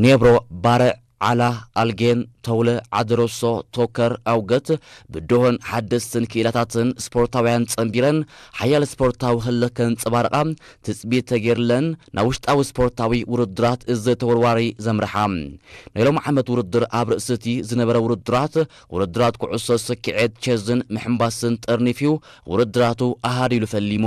ኔብሮ፣ ባርዕ፣ ዓላ፣ ኣልጌን፣ ተውለ፣ ዓደሮሶ፣ ቶከር፣ ኣውገት ብድሆን ሓደስትን ክኢላታትን ስፖርታውያን ጸንቢረን ሓያል ስፖርታዊ ህለ ከንጸባርቓ ትጽቢት ተገይርለን ናብ ውሽጣዊ ስፖርታዊ ውድድራት እዚ ተወርዋሪ ዘምርሓ። ናይ ሎም ዓመት ውድድር ኣብ ርእሲ እቲ ዝነበረ ውድድራት፣ ውድድራት ኩዕሶ ስኪዔት፣ ቸዝን ምሕምባስን ጠርኒፍዩ ውድድራቱ ኣሃዲሉ ፈሊሙ።